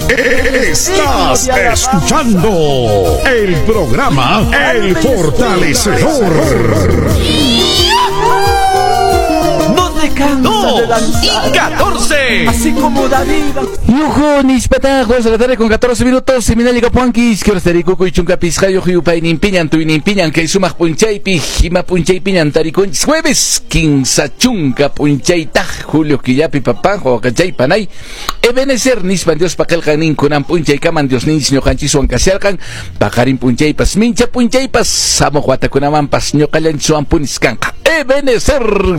Estás escuchando el programa El Fortalecedor. No te cansas de danzar. Y 14. Así como David. Yuhu, nispata, 2 de la tarde con 14 minutos, seminario Capuanquis, que hora chunka pisqayuq yupayninpiñan, tuyninpiñan, kay sumaq p'unchaypi, ima p'unchaypiñan tarikunchis, jueves, 15 chunka p'unchaytaq, julio killapi papá, wawaqachay panay, Ebenezer nispan Diospa qillqan kunan p'unchaykaman Dios ninchis ñuqanchiswan kasharqan, paqarin p'unchaypas, mincha p'unchaypas, samuq watakunamanpas ñuqallanchiswan punis kanqa. Ebenezer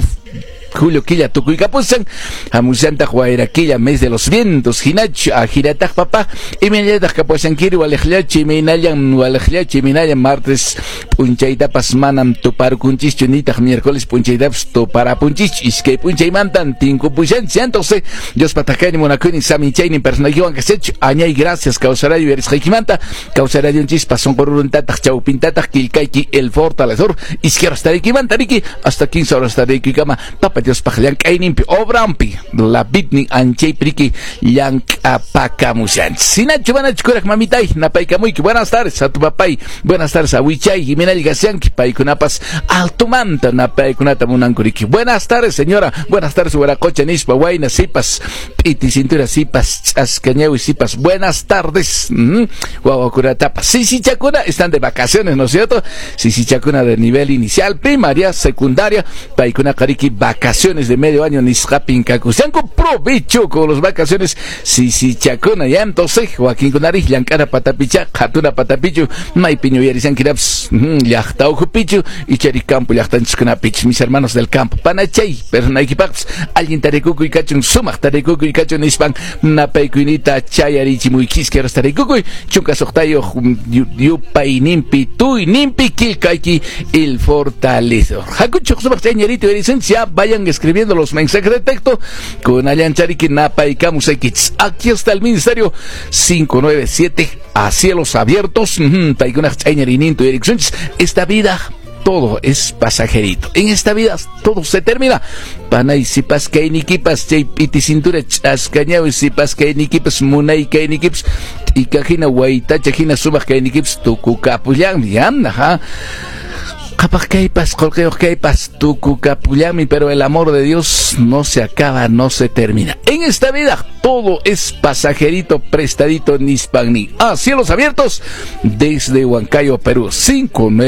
Julio killa tukuykapusan, hamushantaq wayra killa, mes de los vientos, hinachu, ajirataq papá, imaynallataq kapuashankiri waliqllachu, imaynallan waliqllachu, imaynallan martes p'unchaytapas manam tuparkunchischu, nitaq miércoles p'unchaytapas tuparapunchischu, iskay p'unchaymantan tinkupushanchis, entonces Diospa takaynin munakuynin saminchaynin personaykiwan kasachu, añay gracias kawsarayo yarisqaykimanta, kawsarayunchispa sunqururuntataq chawpintataq killkayki El Fortalecedor, iskay horas taraykimanta riki, hasta 15 horas taraykikama, papa Diospaq llank'ayninpi obrampi la bitnin anchaypi llank'apakamushanchis. Sinachu manachu kuraq mamitay napaykamuyki. Buenas tardes a tu papay, buenas tardes a Wichay, Jimenez Gasianki, paykunapas altumanta napaykunata munankuriki. Buenas tardes señora, buenas tardes huaracocha nispa, wayna sipas, p'iti cintura sipas, ch'askañawi sipas, buenas tardes. Wawakunatapas. Sisichakuna están de vacaciones, ¿no es cierto? Sisichakuna de nivel inicial, primaria, secundaria, paykuna qariki vacaciones de medio año nisqapin kakushanku, provecho con los vacaciones sisichakuna. Ya entonces Joaquín kunari llank'ana patapicha qhatuna patapichu maypiñu yuyarishankirapas llaqta ukhupichu ichari campo llaqtanchiskunapich, mis hermanos del campo panachay personaykipaqpas allin tarikukuy kachun sumaq tarikukuy kachun nispan napaykuynita chayarichimuykiska tarikukuy chunka suqtayuq yupayninpi tuyninpi killkayki El Fortalecedor. Hakuchuq sumaq chayñarito yuyarisunchis, ya vayan escribiendo los mensajes de texto con Allanchariki napaykamusaykichis. Aquí está el ministerio 597 a cielos abiertos. Esta vida todo es pasajerito. En esta vida todo se termina. Panay sipas kaynikipas chay p'iti cintura ch'askañawi sipas kaynikipas munay kaynikipas t'ikahina waytacha hina sumaq kaynikipas tukukapullanmi. Ajá. Qhapaq kaypas, qullqiyuq kaypas, tukukapullanmi, pero el amor de Dios no se acaba, no se termina. En esta vida todo es pasajerito, prestadito, nispan ni. A cielos abiertos desde Huancayo, Perú. 5 9